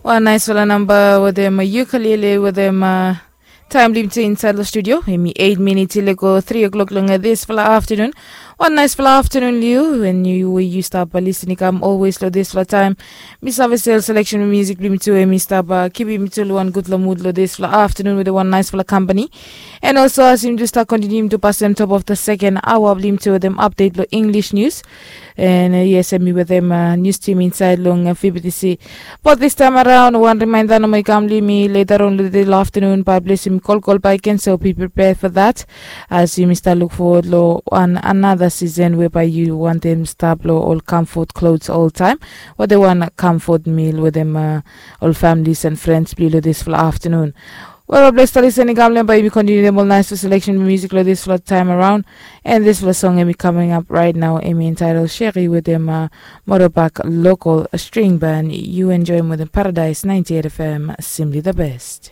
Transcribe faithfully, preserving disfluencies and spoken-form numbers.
Wan naisfala namba wetem yu kaliele wetem taem blong yumi tu insaed long studio. Em i eit minit i lego tri o'klok long disfala aftenun. Wan naisfala aftenun long yu, en yu we yu stap lisin i kam olwes long disfala taem. Mi save sel seleksen blong musik blong yumi tu em i stap kipim yumi tu long wan gudfala mud long disfala aftenun wetem wan naisfala kampani. En olso as yumi tu stap kontiniu yumi tu pasem top of the seken aoa blong yumi tu wetem apdet long Inglis nius. En yes, em i wetem nius tim insaed long fibitisi. Bat distaem araon wan rimaenda nomo i kam long yumi leta raon long de long aftenun bae ples yumi kolkol bae i ken so bi pripea fo dat. As yumi stap luk fowod long wan anada sisen we bae yu wantem stap long ol kamfot klos oltaem, wetem wan kamfot mil wetem ol familis en frens blong yu long disfala aftenun. Wel, bae ples stap lisin i kam long em bae yumi kontiniu wetem ol naisfala seleksen blong musik long disfala taem araon. En disfala song em i kaming ap raet nao em i entaedel Sheri wetem Motorbike Local String Band. Yu enjoem wetem Paradise ninety-eight F M, simply the best.